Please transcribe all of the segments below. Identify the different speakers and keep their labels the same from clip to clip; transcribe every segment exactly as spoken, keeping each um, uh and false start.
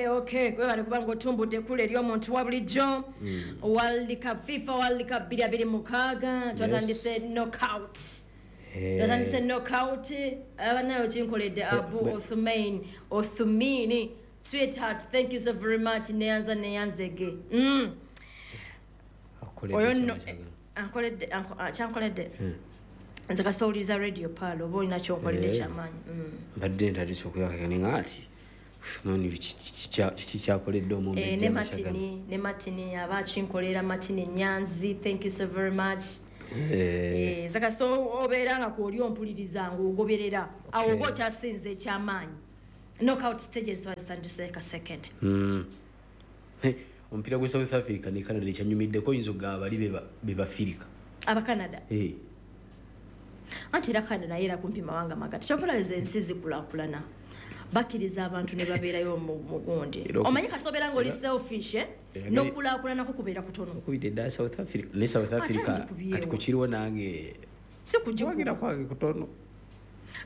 Speaker 1: Okay, webale kubanga otumbudde kule eri omuntu wa bulijjo. World Cup, FIFA World Cup bbiri abiri mukaaga, twatandise knockout, twatandise knockout. Abanayo kinkoledde Abu
Speaker 2: bwe-
Speaker 1: Othumain Othumini, sweetheart, thank you so very much. Neyanza, neyanzege mm. Oyo nno ankoledde, anko- ah, kyankoledde nze kasita owuliriza Radio Pearl oba olina kyonkoledde
Speaker 2: Eh.
Speaker 1: kyamaanyi Mm.
Speaker 2: Mbadde ntandise okuyakakane nga ati Uthumani kiki kyakoledde
Speaker 1: Eh,
Speaker 2: omumbejja
Speaker 1: ne
Speaker 2: Mashagana?
Speaker 1: Martini, ne Martini aba akinkolera, Martini Nyanzi, thank you so very much.
Speaker 2: Eh,
Speaker 1: Eh, nze kasita obeera nga kwoli ompuliriza ng'ogoberera awo oba okyasinze ekyamaanyi. Knockout stages twazitandise ka second.
Speaker 2: mm. Eh, omupiira gwe South Africa ne Canada ekyanyumiddeko, oyinza okugamba bali be ba- be bafirika.
Speaker 1: Abacanada?
Speaker 2: Eh,
Speaker 1: Anti era Canada naye era kumpi mawanga magati. Kyovula ensi zikulaakulana, bakkiriza abantu ne babeerayo mu mu gundi.
Speaker 2: Era oku-
Speaker 1: Omanyi kasita obeera ng'oli selfish, eh,
Speaker 2: Era-
Speaker 1: n'okulaakulanako kubeera kutono.
Speaker 2: Okubidde eddala South Africa ne South Africa.
Speaker 1: Ngikubyewo.
Speaker 2: Kati kukiriwo nange
Speaker 1: Si kugikuba.
Speaker 2: Kuwagira kwange kutono.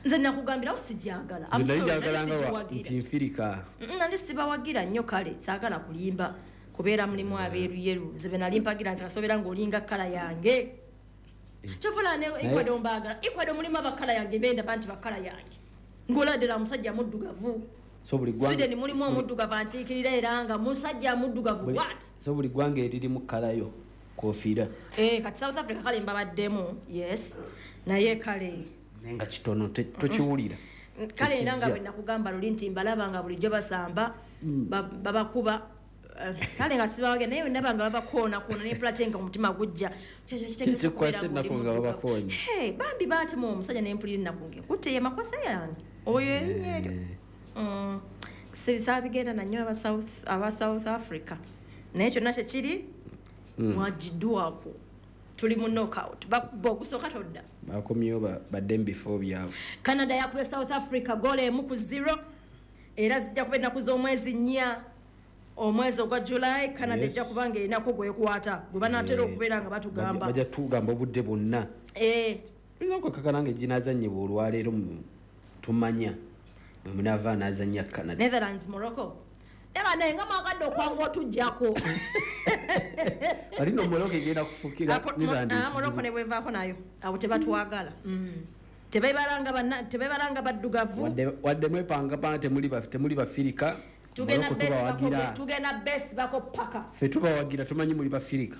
Speaker 1: Nze nakugambirawo sijagala. I'm
Speaker 2: Nze nali
Speaker 1: sorry, nali
Speaker 2: njagalanga wa-
Speaker 1: sigiwagira.
Speaker 2: nti nfirika.
Speaker 1: Mm, nali sibawagira nnyo. Kale saagala kulimba, kubeera mulimu abeeruyeru. Nze be nali mpagira, nze kasobeera ng'olinga color yange. Kyovula ne Ecuador mbaagala. Ecuador mulimu aba color yange, bendaba nti ba color yange, ng'oladira musajja muddugavu.
Speaker 2: So buli ggwanga
Speaker 1: Sweden mulimu omuddugavu ankiikirira, era nga musajja muddugavu.
Speaker 2: buli-
Speaker 1: What?
Speaker 2: So buli ggwanga eririmu color yo kofiira.
Speaker 1: Eh, kati South Africa kale mbabaddemu, yes, naye kale
Speaker 2: Naye nga kitono, te- tokiwulira.
Speaker 1: Kale era nga
Speaker 2: Tekijja.
Speaker 1: bwe nakugamba luli nti mbalaba nga bulijjo basamba, ba- babakuba. Eh, kale nga sibawagira, naye ndaba nga babakoonakoona nempulate nga omutima gujja.
Speaker 2: Kikwasa ennaku nga babakoonye.
Speaker 1: Bambi baatema omusajja, nempulira ennaku ngenkutte ye makosa yange oyo erinnya eryo. Mm, saabigenda nanyo aba South- aba South Africa, naye kyonna kyekiri mwagiddwako. Tuli mu knockout, bakuba ogusooka todda.
Speaker 2: Bakomyewo ba- badde mu bifo byabwe.
Speaker 1: Canada yakubye South Africa goal emu ku zero, era zijja kuba ennaku z'omwezi nnya omwezi ogwa July. Canada
Speaker 2: Yes.
Speaker 1: ejja kuba nga erinako gwekwata gwe banaatera
Speaker 2: Eh,
Speaker 1: okubeera nga batugamba.
Speaker 2: Bajja tugamba obudde bwonna.
Speaker 1: Eh,
Speaker 2: Oyinza okwekakana nga eginazanyibwa olwaleero mu- tumanya mwe munaava anazanya Canada.
Speaker 1: Netherlands Morocco eba naye nga mwagadde okwanga otujjako.
Speaker 2: Kati no Morocco egenda kufukira
Speaker 1: Apo- Mo-
Speaker 2: Netherlands
Speaker 1: ah,
Speaker 2: ekizibu.
Speaker 1: Morocco ne bwevaako nayo abo tebatwagala. Mm. Tebebalanga banna- tebebalanga baddugavu.
Speaker 2: Wadde- wadde mwepangapanga temuli ba- temuli bafirika,
Speaker 1: Tugenda
Speaker 2: Morocco tubawagira.
Speaker 1: besibako- tugenda besibako paka.
Speaker 2: Ffe tubawagira, tumanyi muli bafirika.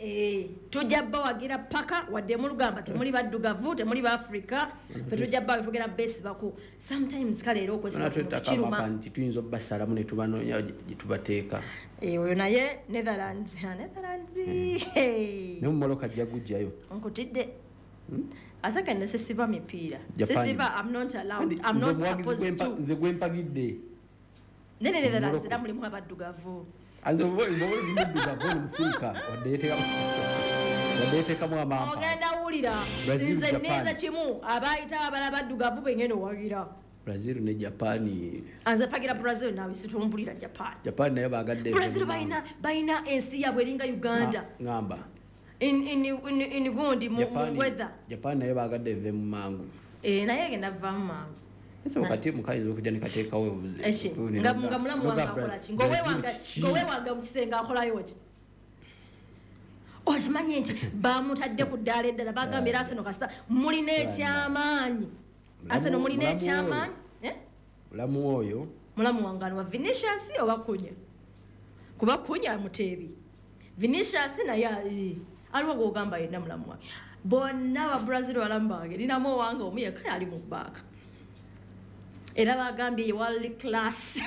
Speaker 1: Eh, tujja bawagira paka wadde mulugamba temuli baddugavu, temuli baafrika, fe tujja ba tugenda besibako sometimes. Kale era okwesiba ku muntu kiruma.
Speaker 2: Twetaka nti tuyinza obbasalamu ne tubanoonya gye gye tubateeka.
Speaker 1: Eh, oyo naye Netherlands, ah, Netherlands. Hey.
Speaker 2: Ne mu Morocco ajja gujjayo.
Speaker 1: Nkutidde asaka ne sisiba mipiira.
Speaker 2: Japan.
Speaker 1: Sisiba, I'm not allowed.
Speaker 2: Kandi
Speaker 1: I'm
Speaker 2: nze
Speaker 1: not
Speaker 2: omuwagizi
Speaker 1: supposed
Speaker 2: gwempa-
Speaker 1: to.
Speaker 2: Nze gwempagidde.
Speaker 1: Nene Netherlands
Speaker 2: Morocco.
Speaker 1: era mulimu abaddugavu.
Speaker 2: Nze muddugavu ono mufirika, wadde yeteekamu wadde yeteekamu amampa.
Speaker 1: Ogenda wulira.
Speaker 2: Brazil,
Speaker 1: Nze
Speaker 2: Japan.
Speaker 1: ninze kimu abayita abala baddugavu bengenda owagira.
Speaker 2: Brazil ne Japan.
Speaker 1: Anze pagira Brazil, nawe situmbulira Japan.
Speaker 2: Japan nayo bagadde.
Speaker 1: Brazil balina balina ensi yaabwe eringa Uganda.
Speaker 2: Ŋŋamba
Speaker 1: in, in, in, in gundi mu, mu
Speaker 2: Japan-
Speaker 1: weather.
Speaker 2: Japan nayo bagadde eve mu mangu.
Speaker 1: Eh, naye egenda vaamu mangu.
Speaker 2: Ese wakati mukayinza okujja ne kateekawo obuze-
Speaker 1: Eki, nga nga mulamu wange akola ki? Ng'owewanga
Speaker 2: Brazil kiki?
Speaker 1: Ng'owewanga mu kisenge akolayo ki? Okimanyi nti bamutadde ku ddaala eddala, bagambye era Arsenal kasita mulina ekyamaanyi, Arsenal mulina
Speaker 2: Mulamu
Speaker 1: ekyamaanyi. Eh?
Speaker 2: Mulamu oyo.
Speaker 1: Mulamu wange ano wa Vinicius oba Kunya? Kuba Kunya muteebi, Vinicius naye eh, aliwo gwogamba yenna mulamu wange. Bonna ba Brazil balamu bange, ninamu owange omu yekka ali mu bbaaka, era bagambye ye world class.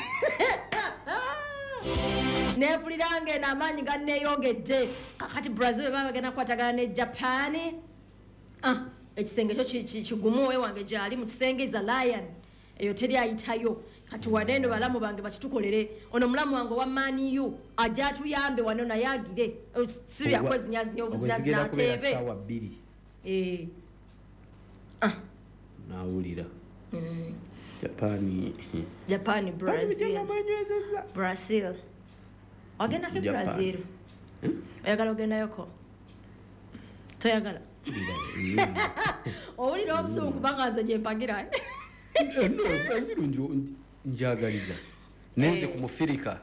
Speaker 1: Nempulira nga eno amaanyi ganneeyongedde. Kakati Brazil bwe baba bagenda kukwatagana ne Japan, ah, ekisenge kyo ki- ki- kigumu. Owe wange gyali mu kisenge is a lion, eyo teri ayitayo. Kati waneeno balamu bange bakitukolere. Ono mulamu wange owa Man U ajja atuyambe wano, naye agire si byakwezinyazinya
Speaker 2: Ogwo zigenda kubeera
Speaker 1: obuzinazina ateebe.
Speaker 2: ssaawa bbiri.
Speaker 1: Eh, ah,
Speaker 2: Nawulira Japan.
Speaker 1: Japan, Brazil, Brazil ogendako e
Speaker 2: Japan.
Speaker 1: Brazil oyagala ogendayoko? Toyagala? Owulira obusungu kubanga nze gyempagira.
Speaker 2: Eh, no, Brazil njo- njagaliza. Nenze ku mufirika.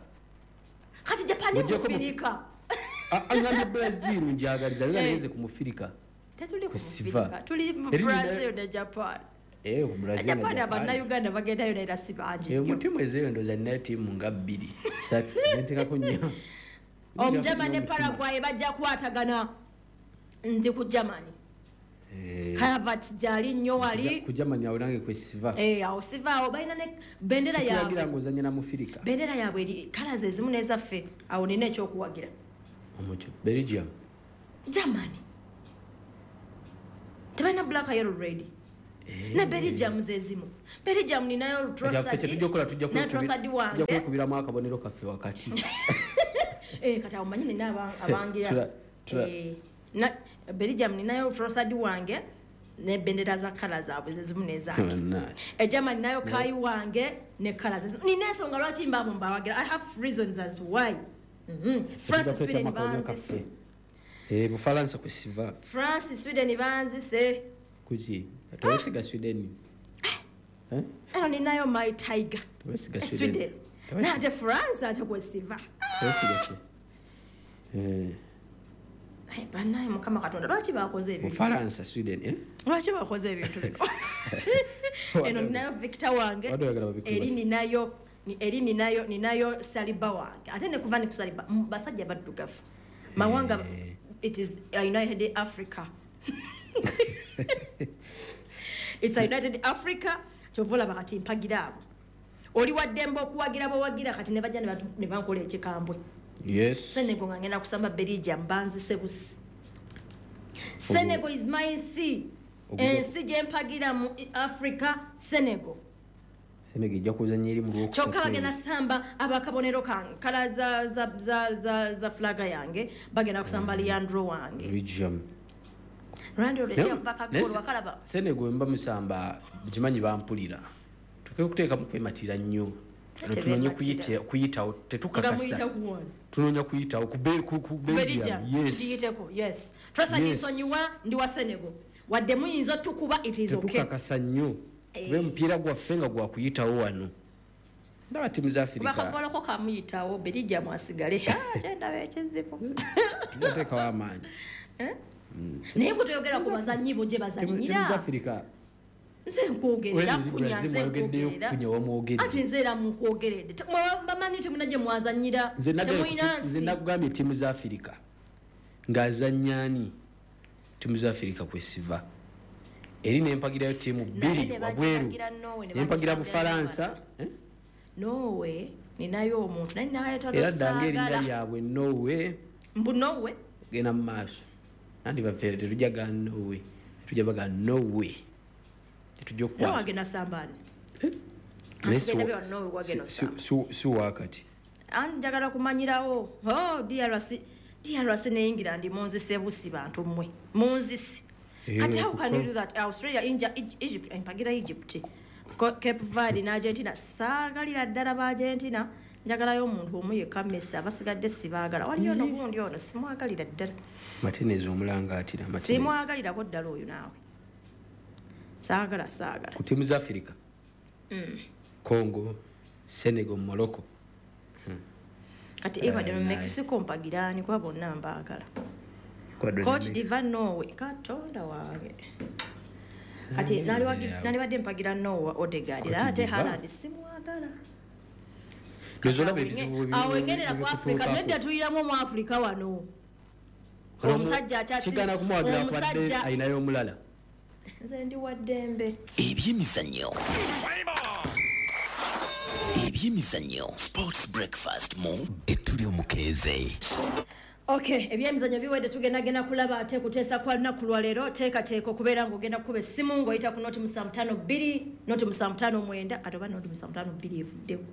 Speaker 1: Kati Japan mufirika.
Speaker 2: Angambye Brazil njagaliza era nenze ku mufirika.
Speaker 1: Tetuli ku mufirika. Tuli mu Brazil ne Japan.
Speaker 2: Eh ku Brazil.
Speaker 1: Japan abanna Uganda bagendayo naira si bangi.
Speaker 2: Eh mu timu ezeyo ndoza nina timu nga bbiri. Ssatu ntentekako nnyo.
Speaker 1: Omugermany ne Paraguay bajja kukwatagana. Ndi ku Germany. Eh Havertz jali nnyo wali.
Speaker 2: Ku Germany awo nange kwesiva.
Speaker 1: Eh awo siva awo balina ne bendera yaabwe.
Speaker 2: Sikuwagira ng'ozannya na mufirika.
Speaker 1: Bendera yaabwe eri colors ezimu n'ezaffe awo nina ekyokuwagira.
Speaker 2: Omujo Belgium.
Speaker 1: Germany. Tebalina black yellow red.
Speaker 2: Eh.
Speaker 1: Na Belgium zezimu. Belgium ninayo Trossard.
Speaker 2: Ffe tujja kukola tujja kwekubiramu akabonero kaffe wakati.
Speaker 1: Eh kati awo manyi nina abangira. Eh na Belgium ninayo Trossard wange ne bendera za colors zaabwe zezimu n'ezange. E Germany nayo Kai wange ne colors zezimu. Nina ensonga lwaki mbabo mbawagira. I have reasons as to why. Mhm. France Sweden banzise.
Speaker 2: Eh Bufaransa kwesiva.
Speaker 1: France Sweden banzise.
Speaker 2: Kuki? Tewesiga Sweden. Eh?
Speaker 1: Eno ninayo my tiger.
Speaker 2: Tewesiga Sweden.
Speaker 1: Na ate France ate kwesiva.
Speaker 2: Tewesiga Sweden. Eh.
Speaker 1: Ai banaye Mukama Katonda lwaki bakoze ebintu?
Speaker 2: Bufaransa Sweden eh?
Speaker 1: Lwaki bakoze ebintu bino? Eno ninayo Victor wange. Eri ninayo eri ninayo ninayo Saliba wange. Ate ne kuva ni kusaliba basajja baddugavu. Mawanga it is a United Africa. It's a United Africa. Kyovola bakati mpagira abo. Oli waddembe okuwagira bowagira kati ne bajja ne bankola ekikambwe.
Speaker 2: Yes.
Speaker 1: Senegal nga ngenda kusamba Belgium banzise busi. Senegal is my nsi. Ensi gye mpagira mu Africa Senegal.
Speaker 2: Senegal ejja kuzannya eri mu lwokusatu.
Speaker 1: Kyokka bagenda samba abakabonero kange kala za za za za, za flaga yange bagenda kusamba Leandro wange.
Speaker 2: Belgium.
Speaker 1: Leandro leo mpaka gol wakalaba.
Speaker 2: Senegal mba musamba kimanyi bampulira. Tuke okuteeka mu kwematira nnyo. Tunonye kuyita kuyitawo tetukakasa. Tunonye kuyitawo ku ku Belgium. Yes.
Speaker 1: Tuyiteko. Yes. Trust yes. Nsonyiwa ndi wa Senegal. Wadde muyinza tukuba it is okay.
Speaker 2: Tetukakasa nnyo. Be mupiira gwaffe nga gwa kuyitawo wano. Ndaba timu za Afrika.
Speaker 1: Bakagoloko kamuyitawo Belgium asigale. Ah kyenda ekizibu.
Speaker 2: Tuteekawo amaanyi.
Speaker 1: Eh? Naye bwe toyogera ku bazannyi bo gye bazannyira.
Speaker 2: Timu za Afrika.
Speaker 1: Nze nkwogerera kunya nze nkwogerera.
Speaker 2: Kunya wamwogedde.
Speaker 1: Ati nze era mukwogeredde. Bamanyi temulina gye mwazannyira.
Speaker 2: Temulina nsi. Nze nakugambye timu za Afrika. Ng'azannya ani? Timu za Afrika kwesiva. Eri nempagirayo timu bbiri wabweru. Nempagira Bufaransa.
Speaker 1: Norway ninayo omuntu naye nayetaaga
Speaker 2: Era ddange erinnya lyabwe Norway.
Speaker 1: Mbu Norway?
Speaker 2: Genda mu maaso. Andi baffe tetujja ga Norway. Tetujja baga Norway. Tetujja okukwata.
Speaker 1: Norway agenda sambani.
Speaker 2: Si wakati.
Speaker 1: Ani njagala kumanyirawo. Oh D R C D R C ne England munzise busi bantu mmwe. Munzise. Kati how can you do that? Australia, India, Egypt, mpagira Egypt. Cape Verde na Argentina. Saagalira ddala ba Argentina. Njagalayo omuntu omu yekka Messi abasigadde sibaagala. Waliyo ono gundi ono simwagalira ddala.
Speaker 2: Martinez omulanga atira Martinez.
Speaker 1: Simwagalirako ddala oyo naawe. Saagala saagala.
Speaker 2: Ku timu za Afrika.
Speaker 1: Mm.
Speaker 2: Congo, Senegal, Morocco. Hmm.
Speaker 1: Kati Ecuador uh, Mexico mpagirani kwa bonna mbaagala. Cote d'Ivoire Norway Katonda wange. Kati naliwadde mpagira Noah Odegaard ate Haaland simwagala.
Speaker 2: Nozolaba ebizibu
Speaker 1: awo engerera ku Afrika nedda tuyiramu mu Afrika wano. Omusajja akyasi
Speaker 2: kigana kumwagira kwadde ayinayo omulala.
Speaker 1: Nze ndi wa ddembe.
Speaker 3: Ebyemizannyo. Ebyemizannyo Sports Breakfast mu etuli omukeeze.
Speaker 1: Okay, ebyemizannyo biwedde tugenda genda kulaba ate kuteesa kwa lunaku lwa leero teekateeka okubeera ng'ogenda kukuba essimu ng'oyita ku noti musanvu ttaano bbiri noti musanvu ttaano mwenda kati oba noti musanvu ttaano bbiri evuddewo.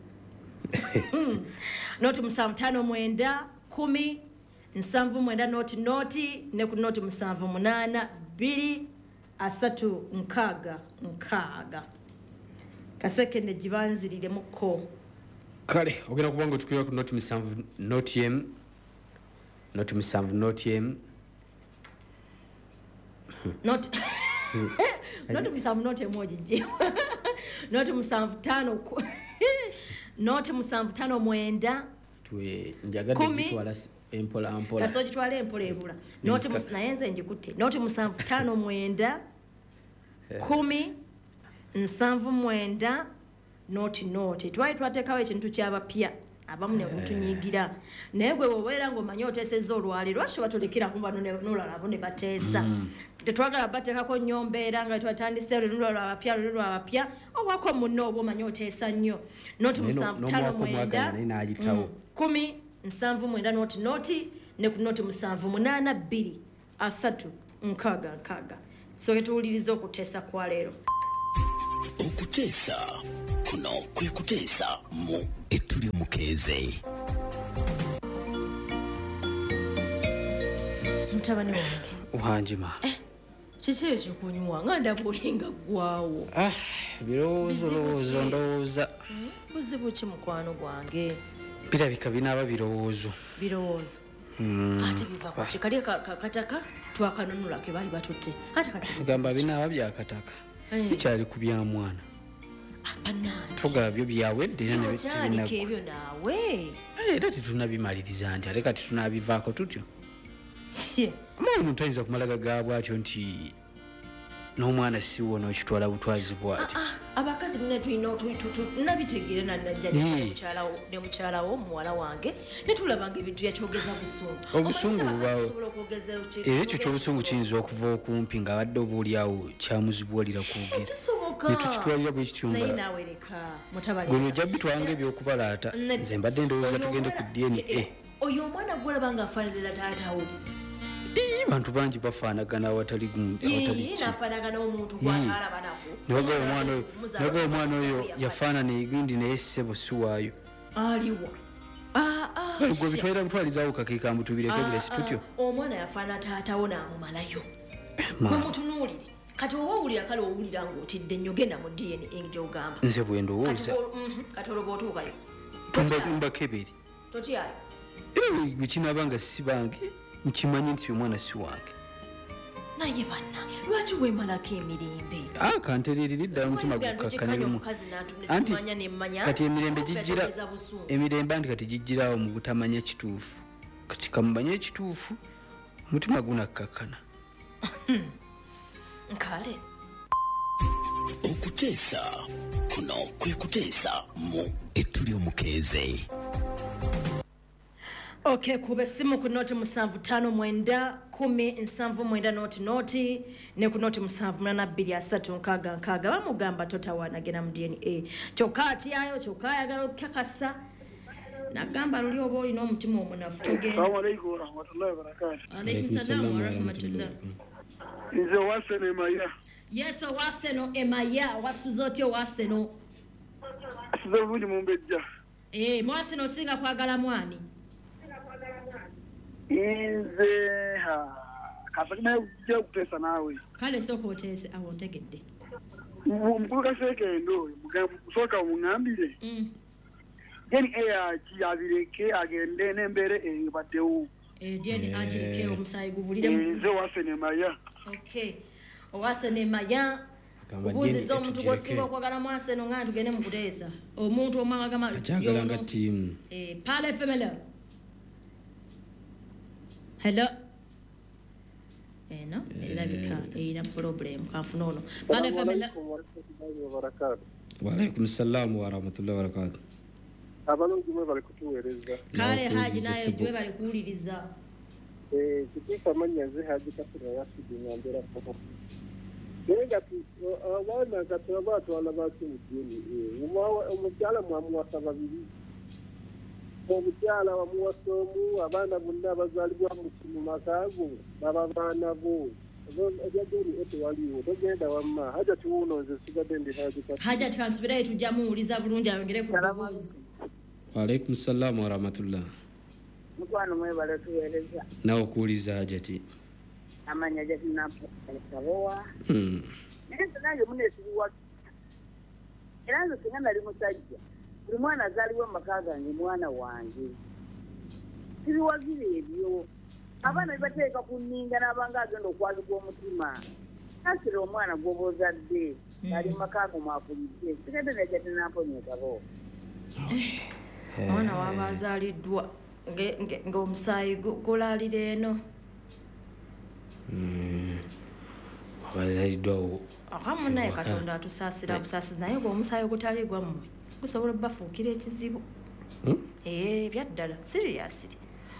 Speaker 1: Noti musanvu ttaano mwenda kumi nsanvu mwenda noti noti ne ku noti musanvu munaana bbiri asatu nkaaga nkaaga. Kasekende gibanziriremuko.
Speaker 2: Kale ogenda kuba ng'otukulira ku noti musanvu noti emu noti musanvu noti emu
Speaker 1: Not noti musanvu noti emu ogigye noti musanvu ttaano Noti musanvu tano mwenda
Speaker 2: tuwe njagadde gitwala empola mpola.
Speaker 1: Kaso gitwala empola ebula. Noti naye nze njikutte. Noti musanvu tano mwenda kumi nsanvu mwenda noti noti. Twali twateekawo ekintu ky'abapya abamu ne mutunyigira. Naye gwe bw'obeera ng'omanyi oteesezza olwaleero lwaki batulekera ku bano n'olala abo ne bateesa. Tetwagala bateekako nnyo mbeera nga twatandise olwo lw'abapya olwo lw'abapya owako munno oba omanyi oteesa nnyo. Noti musanvu tano mwenda kumi nsanvu mwenda noti noti ne ku noti musanvu munaana bbiri asatu nkaaga nkaaga. So tuwulirize okuteesa kwa leero.
Speaker 3: Okuteesa kuno kwe kuteesa mu etuli mukeeze.
Speaker 1: Mutabani wange.
Speaker 2: Wanjima.
Speaker 1: Eh, kiki ekyo kunywa nga ndaba olinga ggwawo.
Speaker 2: Ah, birowoozo lowoozo ndowooza.
Speaker 1: Buzibu ki mukwano gwange?
Speaker 2: Birabika binaaba birowoozo.
Speaker 1: Birowoozo. Ate biva ku ki? Kali kataka twakanunula ke bali batutte. Ate kati
Speaker 2: gamba binaaba byakataka. Bikyali ku bya mwana. Tugaba byo byawedde era ne
Speaker 1: bitubinako. Ebyo naawe.
Speaker 2: Era tetunnabimaliriza nti ate kati tunaabivaako tutyo. Ama omuntu ayinza kumala gagaabwa atyo nti n'omwana si wo n'okitwala butwazi bw'atyo.
Speaker 1: Abakazi mune tulina nabitegeera nannajja ne mukyala wo muwala wange ne tulabanga ebintu yakyogeza busungu.
Speaker 2: Obusungu bubaawo. Era ekyo ky'obusungu kiyinza okuva okumpi ng'abadde oba oli awo kyamuzibuwalira kwogera.
Speaker 1: Kisoboka.
Speaker 2: Ne tukitwalira bwe kityo nga.
Speaker 1: Naye naawe leka mutabani.
Speaker 2: Gwe ojja bitwanga eby'okubalaata. Nze mbadde ndowooza tugende ku D N A.
Speaker 1: Oyo omwana gw'olaba ng'afaananira taata wo.
Speaker 2: Abantu bangi bafaanagana awatali gundi awatali ki.
Speaker 1: Nafaanagana omuntu gw'atalaba nako.
Speaker 2: Naga omwana oyo naga omwana oyo yafaanana egindi naye ssebo si waayo.
Speaker 1: Aliwa. Ah ah.
Speaker 2: Kale gwe bitwalira butwalizaawo kakeeka mbu tubireke bulesi tutyo.
Speaker 1: Omwana yafaana taatawo n'amumalayo. Gwe mutunuulire. Kati oba owulira kale owulira ng'otidde nnyo genda mu D N A gy'ogamba.
Speaker 2: Nze bwe ndowooza.
Speaker 1: Kati olwo bw'otuukayo.
Speaker 2: Mbakebere.
Speaker 1: Totyayo.
Speaker 2: Era bwe kinaaba nga si bange. Nkimanyi nti omwana si wange.
Speaker 1: Naye banna lwaki weemalako emirembe?
Speaker 2: Ah, kantereerera ddala omutima gukkakkana lumu. Anti kati emirembe gijjira emirembe anti kati gijjiraawo mu butamanya kituufu. Kati kamumanye ekituufu omutima gunakkakkana.
Speaker 1: Kale.
Speaker 3: Okuteesa kuno kwe kuteesa mu etuli omukeeze.
Speaker 1: Okay, kube simu ku noti musanvu tano mwenda kumi nsanvu mwenda noti noti ne ku noti musanvu munana bbiri asatu nkaaga nkaaga bamugamba totawaana genda mu D N A. Kyokka atyayo kyokka ayagala okukakasa nagamba luli oba olina omutima omunafu togenda.
Speaker 4: Assalamu alaikum warahmatullahi wabarakatuh.
Speaker 1: Alaikum salaam warahmatullah.
Speaker 4: Nze Waseno Emaya.
Speaker 1: Yes, Waseno Emaya, wasuze otya Waseno?
Speaker 4: Asuze bulungi mumbejja.
Speaker 1: Eh, Mwaseno osinga kwagala mwani?
Speaker 4: Nze ha kasakina kujja kuteesa naawe.
Speaker 1: Kale sooka oteese awo ntegedde.
Speaker 4: Omukulu Kaseekendo oyo sooka omuŋŋambire. D N A abireke agende n'embeera eyo baddewo.
Speaker 1: Eh, D N A agireke omusaayi gubulire mu.
Speaker 4: Nze Waseno Emaya.
Speaker 1: Okay. Owaseno Emaya. Obuuziza omuntu gw'osinga okwagala Mwaseno nga tugende mu kuteesa. Omuntu omwanga gama.
Speaker 2: Akyagala nga ttiimu.
Speaker 1: Eh, Pale F M L. Hello. Eno erabika erina problem kanfuna ono. Pale F M L.
Speaker 2: Wa alaikum salaam wa rahmatullahi wa barakatuh.
Speaker 4: Abalungi mwe bali kutuweereza.
Speaker 1: Kale Haji naye gwe bali kuwuliriza.
Speaker 4: Eh, kitifa manya nze Haji Kasira yasidi ngambera koko. Naye abaana kati abatwala baki mu D N A. Omukyala mwamuwasa babiri. Omukyala wamuwasa omu, abaana bonna abazaalibwa mu maka go baba baana bo. Ebya D N A tewaliwo, togenda wamma. Hajati wuuno nze sigadde ndi Haji Kasira.
Speaker 1: Hajati kansubirayo tujja muwuliza bulungi ayongere ku ddoboozi.
Speaker 2: Wa alaikum salaam wa rahmatullah.
Speaker 5: Mukwano mwebale tuweereza.
Speaker 2: Nawe okuwuliza Hajati.
Speaker 5: Amanya Hajati Nampowa.
Speaker 2: Mm.
Speaker 5: Naye nze nange muneesibiwa. Era nze singa nali musajja. Buli mwana azaalibwa mu maka gange mwana wange. Sibiwagira ebyo. Abaana bibateeka ku nninga n'abanga agenda okwazika omutima. Kasira omwana gw'oba ozadde ali mu maka go mwakulidde. Sigadde ne Hajati Namponya ekabo.
Speaker 1: Omwana waba azaaliddwa ng'omusaayi gulalira eno.
Speaker 2: Abazaaliddwa
Speaker 1: akamu naye Katonda atusaasira busaasizi, naye ng'omusaayi ogutali gwammwe gusobola obbafuukira ekizibu. Eh, byaddala seriously.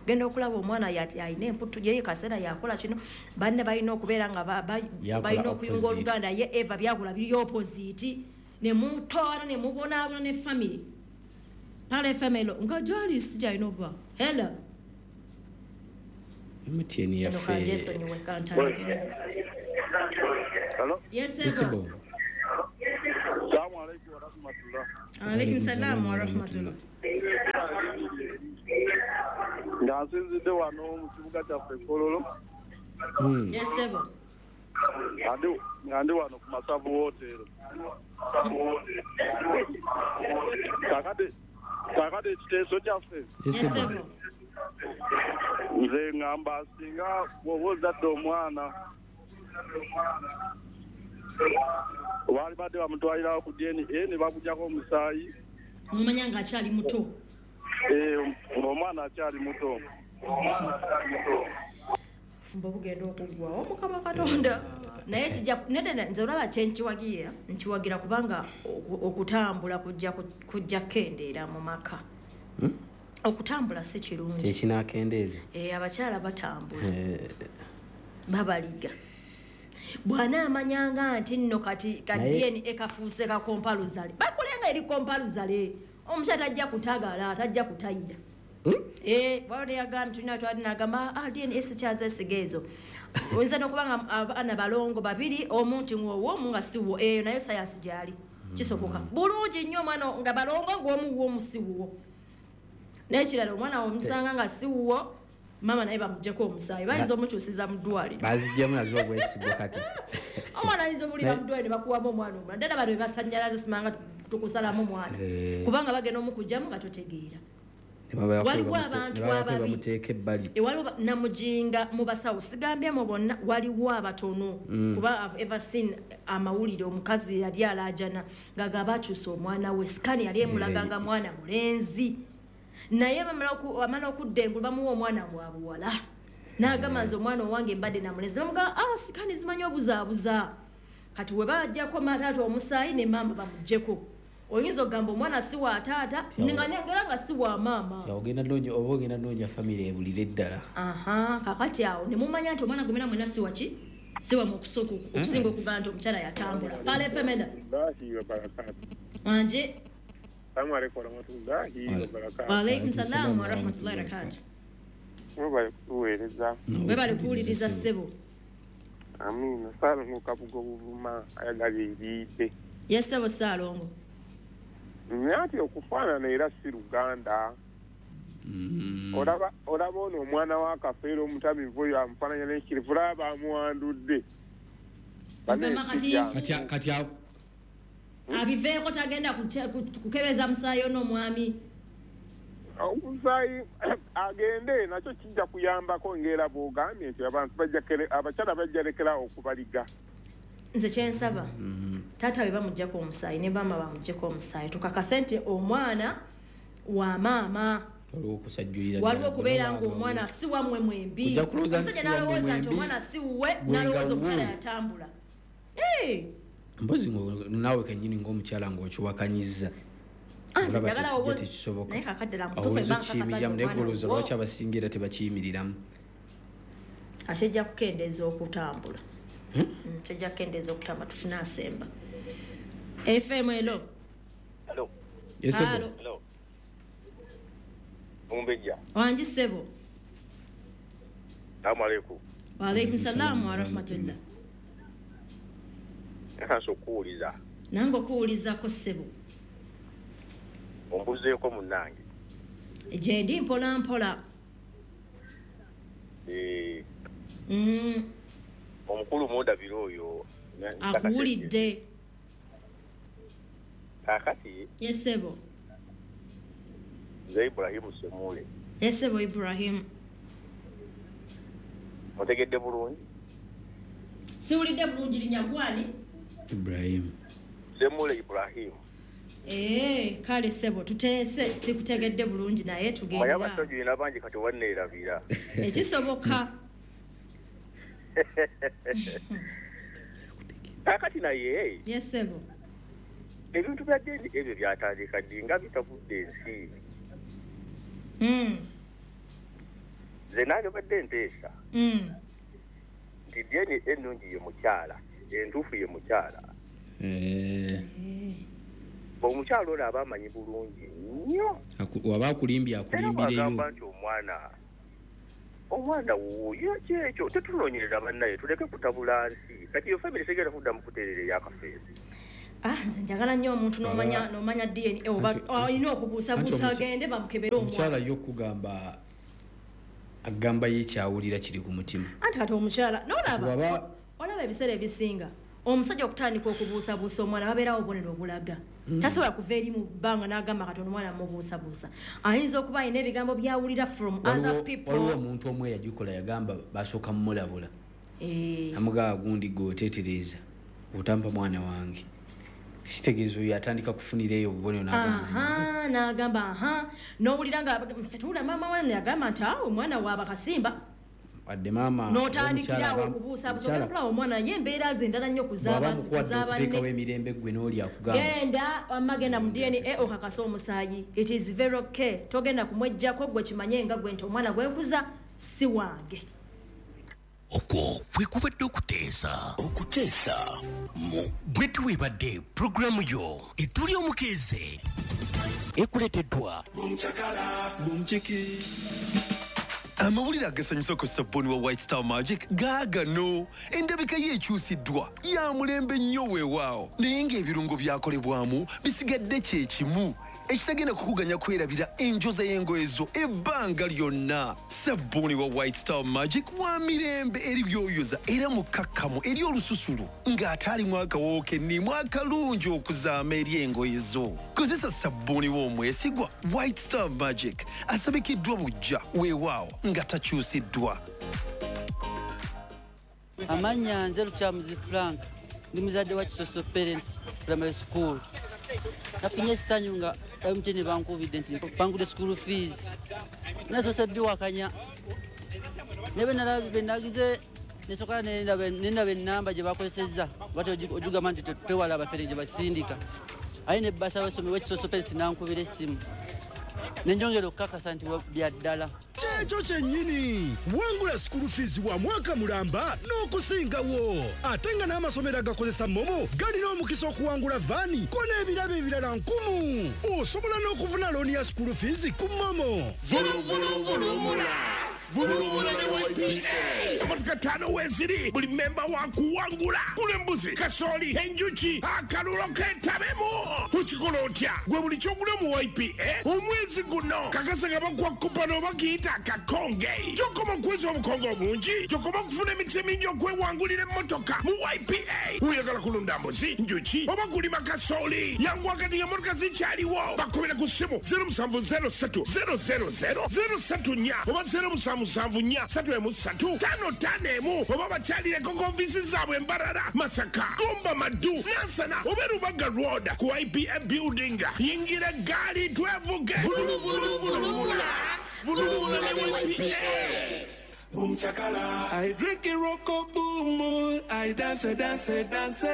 Speaker 1: Genda okulaba omwana alina emputu ye kaseera yakola kino, banne balina okubeera nga balina okuyunga oluganda, ye Eva byakola biri opposite ne mutwala ne mubonaabona ne family. Pale family nga gyali si gyalina okuba. Hello.
Speaker 2: M T N yaffe.
Speaker 4: Hello?
Speaker 1: Yes, sir.
Speaker 4: Assalamu alaikum wa rahmatullah.
Speaker 1: Alaikum salam wa rahmatullah.
Speaker 4: Nga nsinzidde wano mu kibuga kyaffe Kololo.
Speaker 1: Yes, sir.
Speaker 4: Nga ndi wano ku Masavu Hotel. Kakati kakati ekiteeso kyaffe.
Speaker 1: Yes, sir.
Speaker 4: Nze ngamba singa bw'oba ozadde omwana wali badde bamutwalirawo ku D N A ne bakugyako omusaayi.
Speaker 1: Nomanya nga akyali muto.
Speaker 4: Eh, omwana akyali muto.
Speaker 1: Fumba bugenda okuggwawo Mukama Katonda. Naye kijja nedda nze olaba kye nkiwagira, nkiwagira kubanga okutambula kujja kujja kukendeera mu maka. Okutambula si kirungi.
Speaker 2: Kyekinaakendeeza.
Speaker 1: Eh, abakyala batambula. Babaliga. Bwana amanyanga nti nno kati ka D N A kafuuse ka kompaluzale. Bakolenga eri kompaluzale. Omukyala tajja kutagala, tajja kutayira. Eh, wali yagamba tulina twali nagamba ah D N A sikyazesiga ezo. Oyinza n'okuba nga abaana balongo babiri omuntu ng'owo omu nga si wuwo, eyo nayo sayansi gyali. Kisoboka. Bulungi nnyo omwana nga balongo ng'omu wuwo omu si wuwo. N'ekirala omwana omusanga nga si wuwo, mama naye bamuggyeko omusaayi, bayinza omukyusiza mu ddwaliro.
Speaker 2: Baziggyemu nazo obwesigwa kati.
Speaker 1: Omwana ayinza obulira mu ddwaliro ne bakuwamu omwana omulala. Ddala bano be basannyalaza simanga tukusalamu omwana. Kubanga bagenda omukugyamu nga totegeera. Waliwo abantu ababi waliwo namujinga mu basawo sigambyemu bonna, waliwo abatono. Kuba I've ever seen amawulire omukazi yali alaajana ng'agamba akyusa omwana we, scan yali emulaga nga mwana mulenzi, naye bamala okudda engulu bamuwa omwana wa buwala n'agamba nze omwana owange mbadde na mulenzi, bamugamba ah scan zimanyi obuzaabuza. Kati we bajjako taata omusaayi ne maama bamuggyeko. Oyinza okugamba omwana si wa taata nga nga si wa maama.
Speaker 2: Ogenda noonya oba ogenda noonya famire ebulire ddala.
Speaker 1: Aha, kakati awo ne mumanya nti omwana gwe mwena si wa ki? Si wa mu kusooka okusinga okugamba nti omukyala yatambula. Pale F M eda. Wanje.
Speaker 4: Assalamu alaikum warahmatullahi wabarakatuh.
Speaker 1: Wa alaikum salam wa rahmatullahi wa barakatuh.
Speaker 4: Mwebale kutuweereza.
Speaker 1: Mwebale kuwuliriza ssebo.
Speaker 4: Amina. Saalongo Kabugo Buvuma ayagala ebiide.
Speaker 1: Yes, ssebo Saalongo.
Speaker 4: Nti okufaanana era si Luganda. Olaba olaba ono omwana wa Kafeero omutamivu oyo amufaananya n'ekirivu, olaba bamuwandudde.
Speaker 2: Kati
Speaker 1: abiveeko tagenda kukebeza musaayi ono omwami.
Speaker 4: Omusaayi agende nakyo kijja kuyambako ng'era bw'ogambye nti abantu abakyala bajja lekerawo okubaliga.
Speaker 1: Nze kyensaba taata we bamuggyako omusaayi ne maama bamuggyeko omusaayi, tukakase nti omwana wa maama. Waliwo okubeera ng'omwana si wammwe mwembi. Omusajja n'alowooza nti omwana si wuwe, n'alowooza omukyala yatambula.
Speaker 2: Mpozi naawe kennyini ng'omukyala ng'okiwakanyizza.
Speaker 1: Naye kakaddala mutuufu
Speaker 2: ebankakasa naye golowooza lwaki abasinga era tebakiyimiriramu.
Speaker 1: Ate ejja kukendeeza okutambula. Kijja kukendeeza okutambula tufune asemba. F M hello.
Speaker 6: Hello.
Speaker 2: Yes,
Speaker 1: hello.
Speaker 6: Hello. Mumbejja.
Speaker 1: Wangi ssebo.
Speaker 6: Assalamu alaikum.
Speaker 1: Wa alaikum salam wa rahmatullah.
Speaker 6: Nkaso okuwuliza.
Speaker 1: Nange okuwulizako ssebo.
Speaker 6: Ombuzeeko munnange.
Speaker 1: Gye ndi mpola mpola.
Speaker 6: Eh.
Speaker 1: Mm.
Speaker 6: Omukulu mundabira oyo
Speaker 1: akuwulidde.
Speaker 6: Kaakati.
Speaker 1: Yes, ssebo.
Speaker 6: Nze Ibrahim Semule.
Speaker 1: Yes, ssebo Ibrahim.
Speaker 6: Otegedde bulungi?
Speaker 1: Siwulidde bulungi linnya gwani?
Speaker 2: Ibrahim.
Speaker 6: Semule Ibrahim.
Speaker 1: Eh, kale sebo tuteese sikutegedde bulungi naye
Speaker 6: Omanyi
Speaker 1: tugendera.
Speaker 6: abasajja bangi kati wanneerabira.
Speaker 1: Ekisoboka.
Speaker 6: Kaakati naye
Speaker 1: Yes sebo.
Speaker 6: ebintu bya D N A ebyo byatandika ddi nga bitavudde ensi?
Speaker 1: Mm.
Speaker 6: Nze nange badde nteesa
Speaker 1: Mm.
Speaker 6: nti D N A ennungi ye mukyala, entuufu ye mukyala.
Speaker 2: Eh,
Speaker 6: Omukyala ono aba amanyi bulungi nnyo.
Speaker 2: aku- waba akulimbye
Speaker 6: Era
Speaker 2: akulimbireyo.
Speaker 6: bw'agamba nti omwana omwana wuuyo, kyekyo. Tetunoonyereza bannaye, tuleke kutabula nsi. Kati iyo family tegenda kuddamu kuteerera eyakafeesi.
Speaker 1: Ah, nze njagala nnyo omuntu n'omanya
Speaker 2: Baba-
Speaker 1: n'omanya D N A oba
Speaker 2: Anti-
Speaker 1: olina okubuusabuusa
Speaker 2: anti omuky-
Speaker 1: agende bamukebere
Speaker 2: omukyala
Speaker 1: omwana.
Speaker 2: yo okugamba agamba ye kyawulira kiri ku mutima.
Speaker 1: Anti kati omukyala n'olaba
Speaker 2: Waba-
Speaker 1: olaba ebiseera ebisinga omusajja okutandika okubuusabuusa omwana babeerawo obubonero obulaga.
Speaker 2: Mm.
Speaker 1: Tasobola kuva eri mu bbanga n'agamba kati ono omwana mubuusabuusa. Ayinza okuba alina ebigambo byawulira from other
Speaker 2: Waliwo
Speaker 1: people.
Speaker 2: waliwo omuntu omu eyagikola, yagamba basooka mumulabula.
Speaker 1: Eh,
Speaker 2: Amugaba gundi gwe oteetereeza otampa mwana wange, kitegeeza oyo atandika kufunira eyo obubonero n'agamba,
Speaker 1: Aha, n'agamba aha, n'owulira nga ffe tuwulira maama wange yagamba nti awo omwana waaba kasimba.
Speaker 2: Wadde maama
Speaker 1: N'otandikirawo
Speaker 2: omukyala aba-
Speaker 1: okubuusabuusa
Speaker 2: omukyala
Speaker 1: ogenda kulaba omwana ye embeera ze endala nnyo ku
Speaker 2: bw'aba
Speaker 1: z'aba-
Speaker 2: mukuwadde
Speaker 1: ku z'abanne.
Speaker 2: okuteekawo emirembe gwe n'oli akugamba.
Speaker 1: Genda wamma, genda mu D N A okakase omusaayi. It is very okay, togenda kumwejjako. Gwe kimanye nga gwe nti omwana gwenkuza si wange.
Speaker 3: Okwo kwe kubadde okuteesa. Okuteesa mu bwe tuwebadde pulogulaamu yo etuli omukeeze ekuleeteddwa
Speaker 7: Amawulire agasanyusa ku sabbuuni wa White Star Magic gaagano. Endabika ye ekyusiddwa, ya mulembe nnyo weewaawo, naye ng'ebirungo byakolebwamu bisigadde kye kimu, ekitagenda kukuganya kwerabira enjoza y'engoye zo ebbanga lyonna. Sabbuuni wa White Star Magic wa mirembe eri byoyoza era mukkakkamu eri olususu ng'ate alimu akawoowo kennimu akalungi okuzaama eri engoye zo. Kozesa sabbuuni w'omwesigwa White Star Magic, asabikiddwa bujja weewaawo nga takyusiddwa.
Speaker 8: Amannya nze Lukyamuzi Frank, ndi muzadde wa Kisoso Parents Primary School. Nafunye essanyu nga M T N bankubidde nti bangudde school fees. Nasoose biwakanya, naye bwe nagize nesooka nendaba enamba gye bakozesezza, bati ogigamba nti tewala abafere gye basindika, aye ne basa w'essomero w'Ekisoso Parents nankubira essimu nenjongera okukakasa nti bya ddala.
Speaker 9: Kyekyo kyennyini, wangula school fees wa mwaka mulamba n'okusingawo, ate nga n'amasomero agakozesa MoMo galina omukisa okuwangula van ko n'ebirabo ebirala nkumu. Osobola n'okufuna looni ya school fees ku MoMo.
Speaker 10: Vuluvuluvulumula vulumula ne Y P A. Emotoka ttaano weeziri, buli memba wa kuwangula. Gula embuzi, kasooli, enjuki, akalulo ketabemu. Okikola otya? Gwe buli kyogula mu Y P A omwezi guno, kakasa nga bakuwa coupon oba kiyita akakonge. Gyokoma okuweza obukonge obungi, gyokoma okufuna emikisa emingi okwewangulira emmotoka mu Y P A. Oyagala kulunda mbuzi, njuki oba kulima kasooli, yangu wakati ng'emmotoka zikyaliwo. Bakubira ku ssimu zero seven zero three zero zero zero zero three four oba zero seven seven four three three five five one oba bakyalireko ku ofiisi zaabwe Embarara, Masaka, Gomba, Maddu, Nansana oba Rubaga Road ku Y P A building. Yingira eggaali twevuge. Vuluvuluvulumula vulumula ne Y P A.
Speaker 11: Boom chakala. I drink it roko boom. I dance, dance, dance.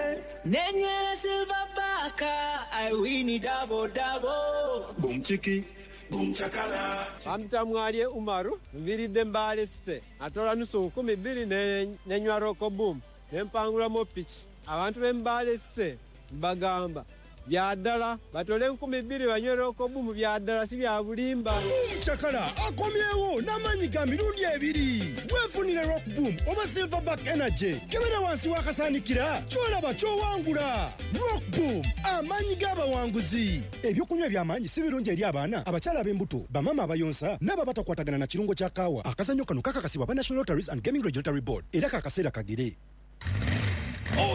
Speaker 12: Nenywera silver baka, I win it double double.
Speaker 11: Boom chiki. Boom chakala.
Speaker 13: Bamtamwalye Umaru, nviridde Mbale City, atola nusu nkumi bbiri ne- nenywa Roco Boom nempangulamu piki. Abantu b'e Mbale City mbagamba bya ddala, batole enkumi bbiri banywe Roco Boom, bya ddala si bya bulimba.
Speaker 9: Omucakala akomyewo n'amaanyi ga mirundi ebiri. Weefunire Rock Boom oba Silverback Energy, kebera wansi w'akasaanikira kyolaba ky'owangula. Rock Boom, amaanyi g'abawanguzi. Ebyokunywa eby'amaanyi si birungi eri abaana, abakyala ab'embuto, bamaama abayonsa n'abo abatakwatagana na kirungo kya kaawa. Akazannyo kano kakakasibwa aba National Lotteries and Gaming Regulatory Board era kakaseera kagere.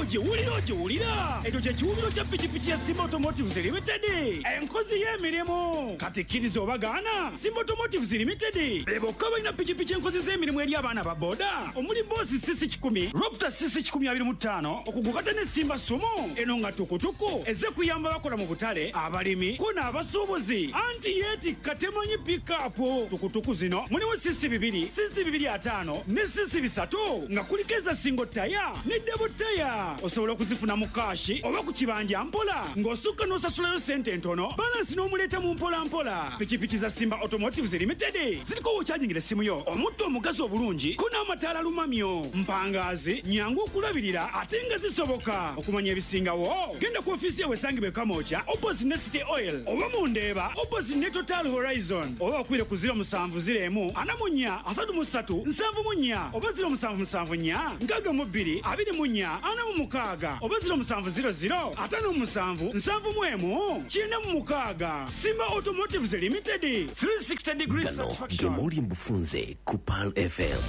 Speaker 14: Ogiwulira, ogiwulira. Ekyo kye kiwubiro kya pikipiki ya Simba Automotives Limited, enkozi y'emirimu. Kati kkiriza obagaana, Simba Automotives Limited be bokka balina pikipiki enkozi z'emirimu eri abaana ba boda, omuli Boss C C kikumi, Raptor C C kikumi abiri mu ttaano, okugukata ne Simba Sumo eno nga tukutuku ezze kuyamba bakola mu butale, abalimi ko n'abasuubuzi, anti yeetikka temanyi pikapu. Tukutuku zino mulimu C C bibiri, C C bibiri ataano ne C C bisatu, nga kuliko eza single tire ne double tire. Osobola okuzifuna mu cash oba ku kibanja mpola, ng'osukka n'osasulayo sente entono, balance n'omuleeta mu mpola mpola. Pikipiki za Simba Automotives Limited ziriko wokyajingira essimu yo, omutto omugazi obulungi ko n'amataala lumamyo, mpangaazi, nyangu okulabirira ate nga zisoboka. Okumanya ebisingawo, genda ku ofiisi yawe esangibwa e Kamwokya opposite ne City Oil, oba mu Ndeeba opposite ne Total Horizon, oba bakubire ku zero seven zero one four three seven four oba zero seven seven four six two four six oba zero seven zero zero five seven seven one nine six. Simba Automotives Limited, three sixty degrees
Speaker 3: Gano
Speaker 14: satisfaction.
Speaker 3: Gemoli mbufunze ku Pearl F M.